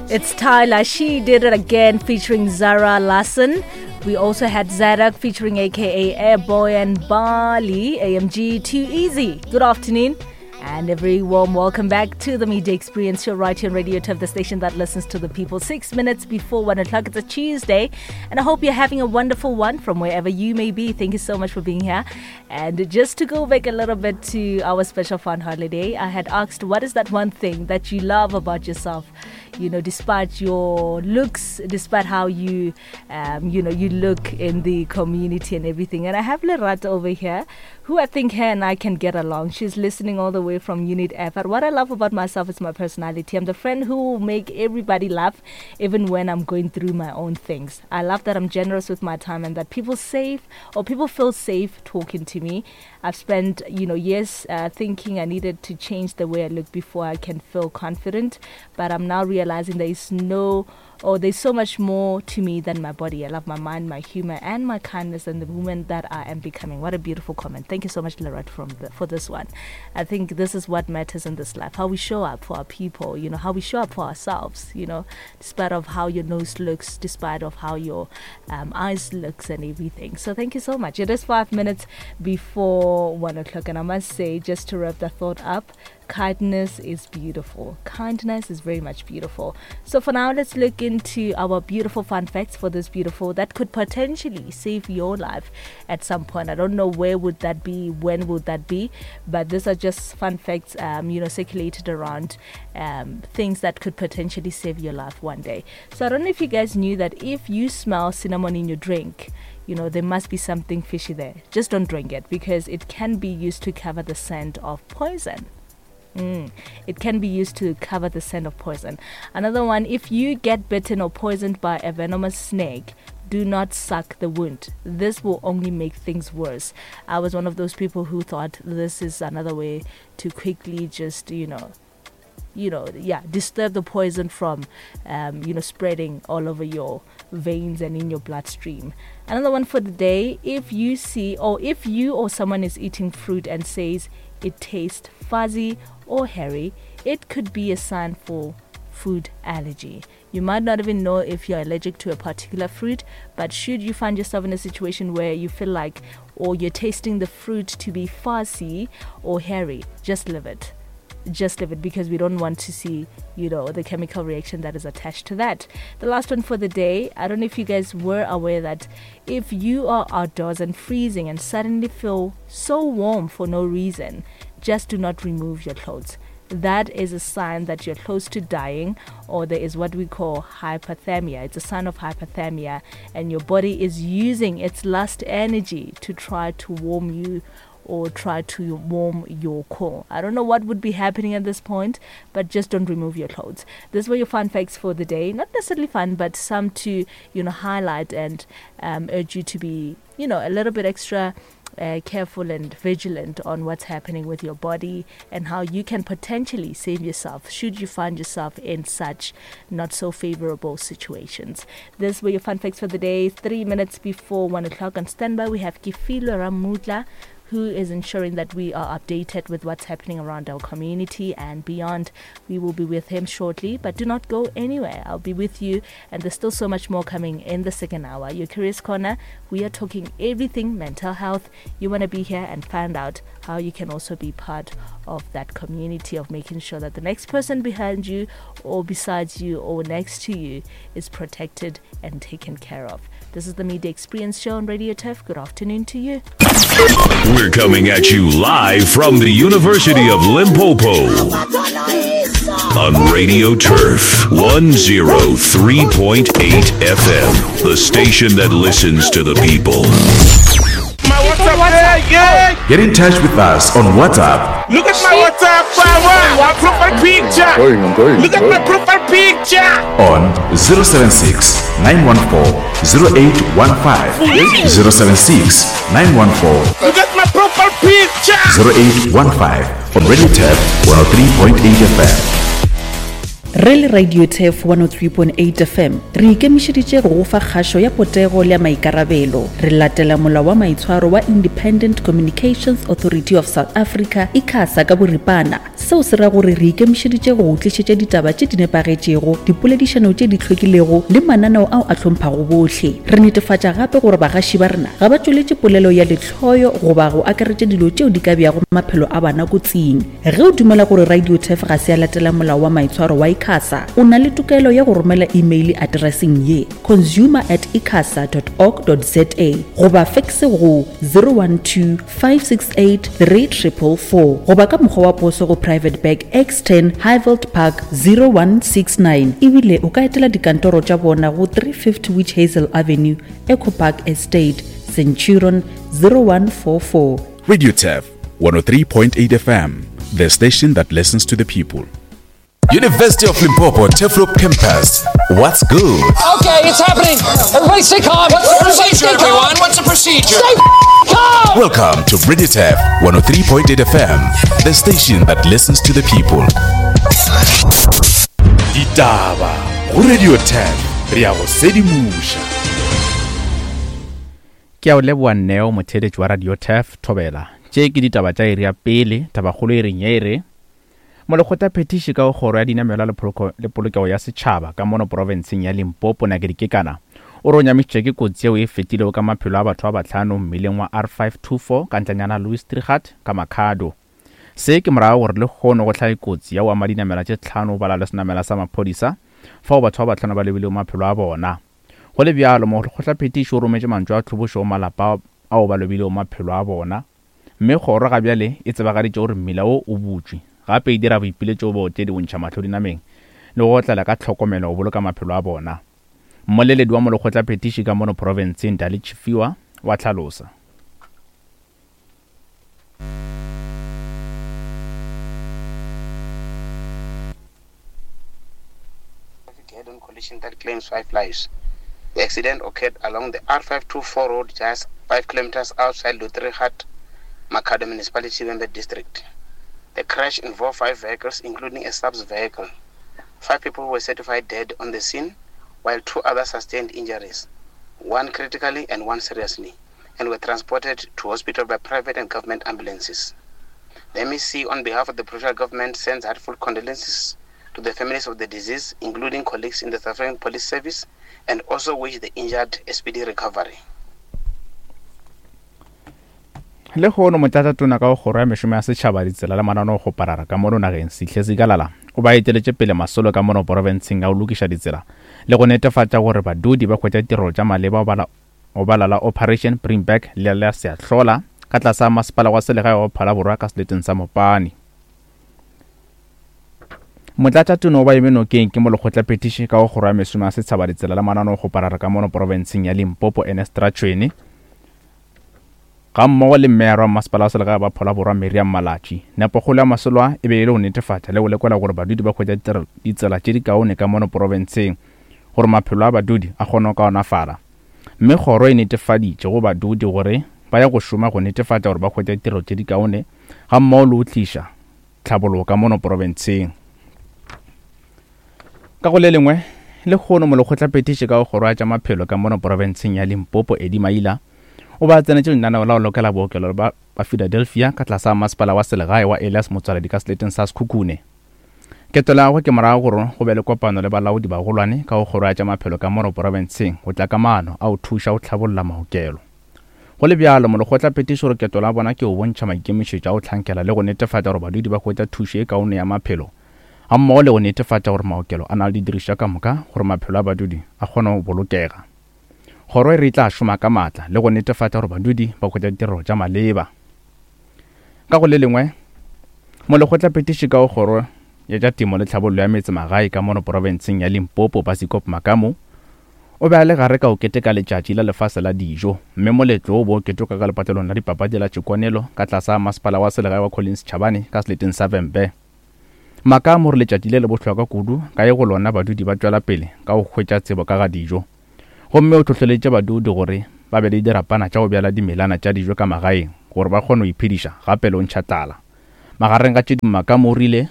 It's Tyla. She did it again featuring Zara Larsson. We also had Zadok featuring AKA Airboy and Bali AMG Too Easy. Good afternoon. And a very warm welcome back to the Media Experience Show right here on Radio Turf, the station that listens to the people. 6 minutes before 1 o'clock. It's a Tuesday, and I hope you're having a wonderful one from wherever you may be. Thank you so much for being here. And just to go back a little bit to our special fun holiday, I had asked, what is that one thing that you love about yourself? You know, despite your looks, despite how you, you know, you look in the community and everything. And I have Lerato over here, who I think her and I can get along. She's listening all the way from Unit F. But what I love about myself is my personality. I'm the friend who will make everybody laugh, even when I'm going through my own things. I love that I'm generous with my time and that people safe or people feel safe talking to me. I've spent, you know, years thinking I needed to change the way I look before I can feel confident. But I'm now realizing there is no, or there's so much more to me than my body. I love my mind, my humor, and my kindness, and the woman that I am becoming. What a beautiful comment. Thank you so much, Lorette, for this one. I think this is what matters in this life, how we show up for our people, you know, how we show up for ourselves, you know, despite of how your nose looks, despite of how your eyes looks and everything. So thank you so much. It is 5 minutes before 1 o'clock, and I must say, just to wrap the thought up, kindness is beautiful. Kindness is very much beautiful. So for now, let's look into our beautiful fun facts for this beautiful that could potentially save your life at some point. I don't know where would that be, when would that be, but these are just fun facts, you know, circulated around things that could potentially save your life one day. So I don't know if you guys knew that if you smell cinnamon in your drink, you know, there must be something fishy there. Just don't drink it, because it can be used to cover the scent of poison. It can be used to cover the scent of poison. Another one, if you get bitten or poisoned by a venomous snake, do not suck the wound. This will only make things worse. I was one of those people who thought this is another way to quickly just, disturb the poison from, spreading all over your veins and in your bloodstream. Another one for the day, if you see or if you or someone is eating fruit and says it tastes fuzzy or hairy, it could be a sign for food allergy. You might not even know if you're allergic to a particular fruit, but should you find yourself in a situation where you feel like or you're tasting the fruit to be fuzzy or hairy, just leave it. Just leave it, because we don't want to see, you know, the chemical reaction that is attached to that. The last one for the day, I don't know if you guys were aware that if you are outdoors and freezing and suddenly feel so warm for no reason, just do not remove your clothes. That is a sign that you're close to dying, or there is what we call hypothermia. It's a sign of hypothermia, and your body is using its last energy to try to warm you or try to warm your core. I don't know what would be happening at this point, but just don't remove your clothes. These were your fun facts for the day. Not necessarily fun, but some to, you know, highlight and urge you to be, you know, a little bit extra careful and vigilant on what's happening with your body and how you can potentially save yourself should you find yourself in such not so favorable situations. These were your fun facts for the day. 3 minutes before 1 o'clock on standby, we have Kefilwe Ramutla, who is ensuring that we are updated with what's happening around our community and beyond. We will be with him shortly, but do not go anywhere. I'll be with you, and there's still so much more coming in the second hour. Your Careers Corner, we are talking everything mental health. You want to be here and find out how you can also be part of that community of making sure that the next person behind you or besides you or next to you is protected and taken care of. This is the Media Experience Show on Radio Turf. Good afternoon to you. We're coming at you live from the University of Limpopo on Radio Turf 103.8 FM, the station that listens to the people. My WhatsApp, yeah, yeah. Get in touch with us on WhatsApp. Look at my WhatsApp, my profile picture. I'm going, Look at my profile picture. On 076 914 0815. 076 914. Look at my profile picture. 0815 on Radio Turf 103.8 FM. Re le Radio Turf 103.8 FM, re ikemišeditše go go fa kgašo ya potego le ya maikarabelo. Re latela Molao wa Maitshwaro wa Independent Communications Authority of South Africa, ICASA, ka boripana. Seo se ra gore re ikemišeditše go go tlišetša ditaba tše di nepagetšego, dipoledišano tše di hlwekilego le mananeo ao a hlomphago bohle. Re netefatša gape gore bagaši ba rena ga ba tšweletše polelo ya lehloyo goba go akaretša dilo tšeo di ka beago maphelo a bana kotsing. Ge o dumela gore Radio Turf ga se ya latela molao wa maitshwaro wa ICASA, o na le tokelo ya go romela imeile atereseng ye, consumer at icasa dot org dot za goba fekse go 012 568 3444 goba ka mokgwa wa poso go Private Bag X10 Highveld Park 0169 ebile o ka etela dikantoro tša bona go 350 Witch Hazel Avenue, Echo Park Estate, Centurion 0144. Radio Turf 103.8 FM, the station that listens to the people. University of Limpopo Turfloop Campus. What's good? Okay, it's happening. Everybody stay calm. What's the Everybody procedure, stay calm. everyone? What's the procedure? Stay calm. Welcome to Radio Turf 103.8 FM, the station that listens to the people. Ditaba go Radio Turf, re a go sedimoša. Ke a o leboa Neo, motheeletši wa Radio Turf, Thobela. Tše ke ditaba tša iri ya pele, tabakgolo e reng ye e re, Molekgotlaphethiši ka go Kgoro ya Dinamelwa le Poloko le Polokego ya Setšhaba ka mono profenseng ya Limpopo, Nakedi Kekana, o re o nyamišitšwe ke kotsi yeo e fetilego ka maphelo a batho ba bahlano mmileng wa R524 ka ntlanyana Louis Trichardt ka Makhado. Se ke morago gore lehono go hlage kotsi ya go ama dinamelwa tše tlhano go bala le senamela sa maphodisa fao batho ba bahlano ba lobilego maphelo a bona. Go le bjalo, molekgotlaphethiši o rometše mantšu a tlhobošo go malapa ao ba lobilego maphelo a bona. Mme kgoro ga bjale e tsebagaditše gore mmila wo o butšwe, gape e dira boipiletšo go baotledi go ntšha mahlo dinameng le go otlela ka tlhokomelo go boloka maphelo a bona. Mmoleledi wa molekgotlaphethiši ka mono profenseng Dali Tshifhiwa wa hlalosa. Head-on collision that claims 5 lives. The accident occurred along the R524 road just 5 kilometers outside Lutrigat, Makhado Municipality, Vhembe District. The crash involved 5 vehicles, including a SAPS vehicle. 5 people were certified dead on the scene, while 2 others sustained injuries, 1 critically and 1 seriously, and were transported to hospital by private and government ambulances. The MEC, on behalf of the provincial government, sends heartfelt condolences to the families of the deceased, including colleagues in the South African Police Service, and also wish the injured a speedy recovery. Lehono motlatšatona ka go Kgoro ya Mešomo ya Setšhaba, Ditsela le Mananeo go Parara ka mono nageng, Sihle Zikalala, o ba eteletše pele masolo ka mono porofenseng a go lokiša ditsela le go netefatša gore badudi ba hwetša ditirelo tša maleba go bala la Operation Bring Back le la Seahlola ka tlase ga Masepala wa Selegae wa Phalaborwa ka seleteng sa Mopani. Motlatšatona o ba eme nokeng ke molekgotlaphethiši ka go Kgoro ya Mesomo ya Setshaba, Ditsela le Mananeo go Parara ka mono porofenseng ya Limpopo, Ernest Rachoene, gammogo le meyara wa Masepala wa Selegae wa Phalaborwa Miriam Malatji. Nepokgolo ya masolo a e be e le go netefatša le go lekola gore badudi ba hwetša ditsela tše dikaone ka mono porofenseng gore maphelo a badudi a kgone go kaonafala. Mme kgoro e netefaditše go badudi gore ba ya go šoma go netefatša gore ba hwetša ditirelo tše dikaone gammogo le go tliša tlhabologo ka mono porofenseng. Ka go le lengwe, lehono molekgotlaphethiši ka go kgoro ya tša maphelo ka mono porofenseng ya Limpopo Eddie Maila o ba tsenetše lenaneo la go lokela bookelo ba ba Philadelphia ka tlase ga masepala wa selegae wa Elias Motswaledi ka seleteng sa Sekhukhune. Ketelo ya gagwe ke morago gore go be le kopano le balaodi bagolwane ka go kgoro ya tša maphelo ka mono porofenseng go tla ka maano a go thuša go hlabolla maokelo. Go le bjalo, molekgotlaphethiši o re ketelo ya bona ke go bontšha maikemišetšo a go hlankela le go netefatša gore badudi ba hwetša thušo e kaone ya maphelo gammogo le go netefatša gore maokelo a na le didirišwa ka moka gore maphelo a badudi a kgone go bolokega. Kgoro e re e tla šoma ka maatla le go netefatša gore badudi ba hwetša ditirelo tša maleba. Ka go le lengwe, molekgotlaphethiši ka go Kgoro ya tša Temo le Tlhabollo ya Metsemagae ka mono porofenseng ya Limpopo, Basikop Makamu, o be a le gare ka go keteka Letšatši la Lefase la Dijo, mme moletlo wo o be o keteka ka lepatlelong la dipapadi la Tšekonelo ka tlase ga Masepala wa Selegae wa Collins Chabane ka seleteng sa Vhembe. Makamu o re letšatši le le bohlokwa kudu ka ge go lona badudi ba tšwela pele ka go hwetša tsebo ka ga dijo. Gomme o hlohleleditše badudi gore ba be le dirapana tša go bjala dimelana tša dijo ka magaeng gore ba kgone go iphediša gape le go ntšha tlala. Magareng ga tše dingwe Makamu o rile.